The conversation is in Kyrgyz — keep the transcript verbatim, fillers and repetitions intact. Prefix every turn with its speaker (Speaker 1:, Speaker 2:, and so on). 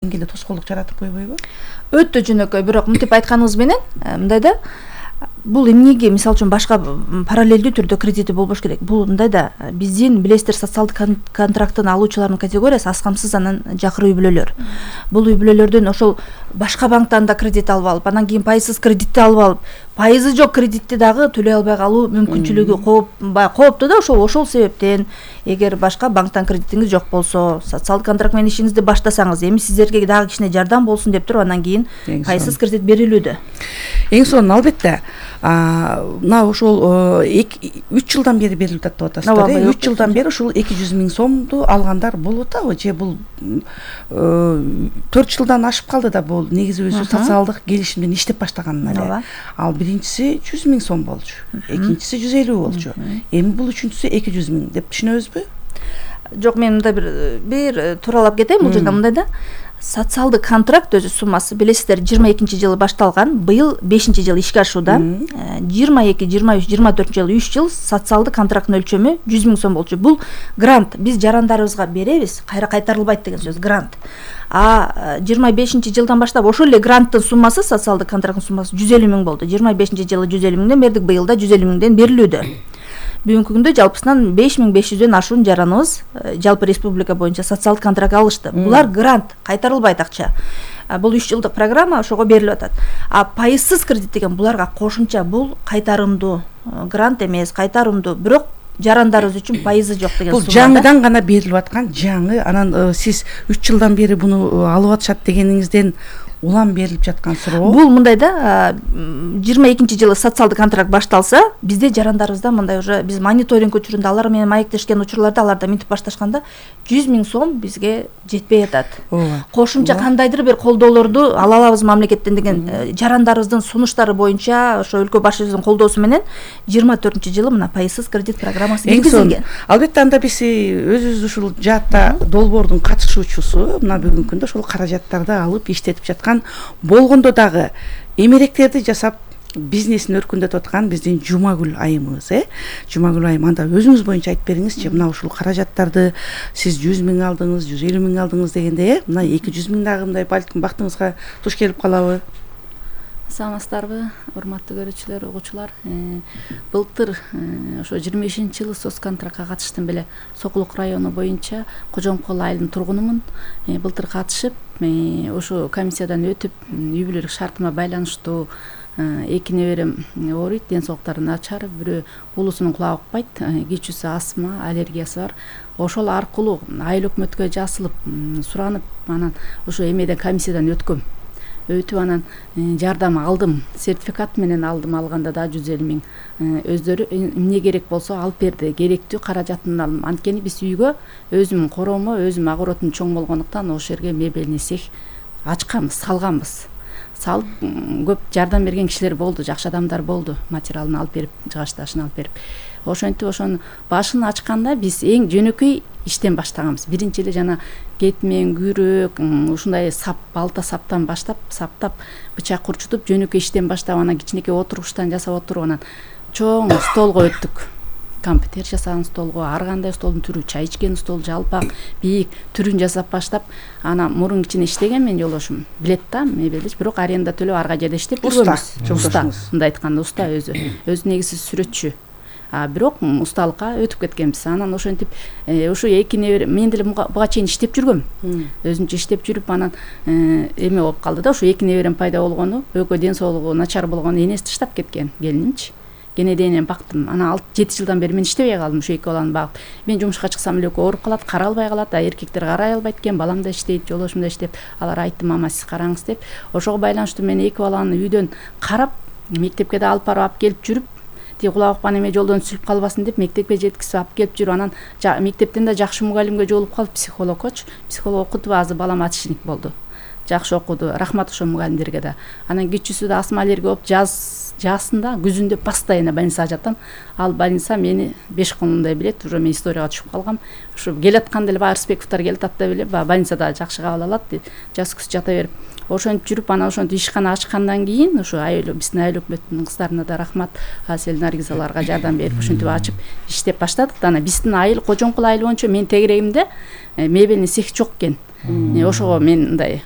Speaker 1: Эле тоскоолдук жаратып койбойбу?
Speaker 2: Өтө жөнөкөй, бирок мынтип айтканыңыз менен мындай да бул эмнеге мисалы үчүн башка параллелдүү түрдө кредити болбош керек. Бул мындай да биздин билесиздер социалдык контракттын алуучуларынын категориясы аз камсыз анан жакыр үй бүлөлөр. Бул үй бүлөлөрдөн ошол башка банктан да кредит алып алып, анан кийин пайызсыз кредитти алып алып, пайызы жок кредитти дагы төлөй албай калуу мүмкүнчүлүгү кооптуу да. Ошол ошол себептен эгер башка банктан кредитиңиз жок болсо, социалдык контракт менен ишиңизди баштасаңыз, эми сиздерге дагы кичине жардам болсун деп туруп анан кийин пайызсыз кредит берилүүдө.
Speaker 1: Эң сонун албетте мына ошол үч жылдан бери берилип атат деп атасыздар. үч жылдан бери ушул эки жүз миң сомду алгандар болуп атабы же бул төрт жылдан ашып калды да бул негизи өзү социалдык келишим менен иштеп баштаганына эле. Ал биринчиси жүз миң сом болчу, экинчиси жүз элүү болчу. Эми бул үчүнчүсү эки жүз миң деп түшүнөбүзбү?
Speaker 2: Жок, мен мындай бир бир тууралап кетейин. Бул жерде мындай да социалдык контракт өзү суммасы билесиздер жыйырма экинчи жылы башталган, быйыл бешинчи жыл ишке ашууда. жыйырма эки, жыйырма үч, жыйырма төртүнчү жылы үч жыл социалдык контракттын өлчөмү жүз миң сом болчу. Бул грант, биз жарандарыбызга беребиз, кайра кайтарылбайт деген сөз, грант. А жыйырма бешинчи жылдан баштап ошол эле гранттын суммасы, социалдык контракттын суммасы жүз элүү миң болду. жыйырма бешинчи жылы жүз элүү миңден бердик, быйыл да жүз элүү миңден берилүүдө. Бүгүнкү күндө жалпысынан беш миң беш жүздөн ашуун жараныбыз жалпы республика боюнча социалдык контракт алышты. Булар грант, кайтарылбайт акча. Бул үч жылдык программа, ошого берилип атат. А пайызсыз кредит деген буларга кошумча, бул кайтарымдуу, грант эмес, кайтарымдуу, бирок жарандарыбыз үчүн пайызы жок деген
Speaker 1: сумма. Бул жаңыдан гана берилип аткан, жаңы. Анан сиз үч жылдан бери буну алып атышат дегениңизден улам берилип жаткан суроо.
Speaker 2: Бул мындай да жыйырма экинчи жылы социалдык контракт башталса, бизде жарандарыбызда мындай уже биз мониторинг учурунда алар менен маектешкен учурларда аларда минтип башташканда жүз миң сом бизге жетпей атат. Кошумча кандайдыр бир колдоолорду ала алабыз мамлекеттен деген жарандарыбыздын сунуштары боюнча ошо өлкө башчысынын колдоосу менен жыйырма төртүнчү жылы мына пайызсыз кредит программасы киргизилген.
Speaker 1: Албетте анда биз өзүбүз ушул жаатта долбоордун катышуучусу мына бүгүнкү күндө ошол каражаттарды алып иштетип жаткан болгондо дагы эмеректерди жасап бизнесин өркүндөтүп аткан биздин Жумагүл айымыбыз, э Жумагүл айым, анда өзүңүз боюнча айтып бериңизчи, мына ушул каражаттарды сиз жүз миң алдыңыз, жүз элүү миң алдыңыз дегенде, э мына эки жүз миң дагы мындай балким бактыңызга туш келип калабы?
Speaker 3: Саламатсыздарбы, урматтуу көрүүчүлөр, угуучулар. Былтыр ошо жыйырма бешинчи жылы соцконтрактка катыштым беле. Сокулук району боюнча Кожомкол айылынын тургунумун. Былтыр катышып, ошо комиссиядан өтүп, үй бүлөлүк шартыма байланыштуу эки неберем ооруйт, ден соолуктары начар, бирөө улусунун кулагы укпайт, кичүүсү астма, аллергиясы бар. Ошол аркылуу айыл өкмөткө жазылып, суранып, анан ошо эмеден комиссиядан өткөм. Өтүп анан жардам алдым, сертификат менен алдым, алганда да жүз элүү миң. Өздөрү эмне керек болсо алып берди, керектүү каражатын алдым. Анткени биз үйгө өзүм короомо, өзүм огородум чоң болгондуктан ошол жерге мебельный цех ачканбыз, салганбыз. Салып көп жардам берген кишилер болду, жакшы адамдар болду, материалын алып берип, жыгач ташын алып берип. Ошентип ошону башын ачканда биз эң жөнөкөй иштен баштаганбыз. Биринчи эле жана кетмен, күрөк, ушундай сап, балта саптан баштап, саптап, бычак курчутуп, жөнөкөй иштен баштап, анан кичинекей отургучтан жасап отуруп, анан чоң столго өттүк. Компьютер жасаган столго, ар кандай столдун түрү, чай ичкен стол, жалпак, бийик түрүн жасап баштап, анан мурун кичине иштеген мен жолдошум. Билет да мебелди, бирок аренда төлөп арга жерде иштеп жүргөнбүз. Уста, мындай айтканда уста өзү. Өзү негизи сүрөтчү. А бирок усталыкка өтүп кеткенбиз. Анан ошентип, ошо эки небер мен деле буга чейин иштеп жүргөм. Өзүмчө иштеп жүрүп, анан эме болуп калды да, ошо эки неберем пайда болгону, экөө ден соолугу начар болгону энеси таштап кеткен, келинимчи. Кенедейинен бактым. Анан алты жети жылдан бери мен иштебей калдым, ошо эки баланы багып. Мен жумушка чыксам эле экөө ооруп калат, кара албай калат, а эркектер карай албайт экен, балам да иштейт, жолдошум да иштеп. Алар айтты, мама сиз караңыз деп. Ошого байланыштуу мен эки баланы үйдөн карап, мектепке да алып барып, алып келип жүрүп, кулак уккан эме жолдон сүлүп калбасын деп мектепке жеткизип алып келип жүрүп, анан мектептен да жакшы мугалимге жолугуп калып, психологчу, психолог окутуп, азыр балам отличник болду. Жакшы окуду. Рахмат ошо мугалимдерге да. Анан кичүүсү да астма аллергия болуп, жаз жазында күзүндө постоянно больницага жатам. Ал больница мени беш колундай билет, уже мен историяга түшүп калгам. Ушу келатканда эле баягы Рысбековдор келип атат да беле, больницада жакшы кабыл алат, жаз күз жата берип. Ошентип жүрүп, анан ошентип ишкана ачкандан кийин, ошо айыл биздин айыл өкмөттүнүн кыздарына да рахмат, Асель, Наргизаларга жардам берип, ошентип ачып иштеп баштадык да. Анан биздин айыл Кожомкул айылы боюнча мен тегерегимде мебельный цех жок экен. ошого мен мындай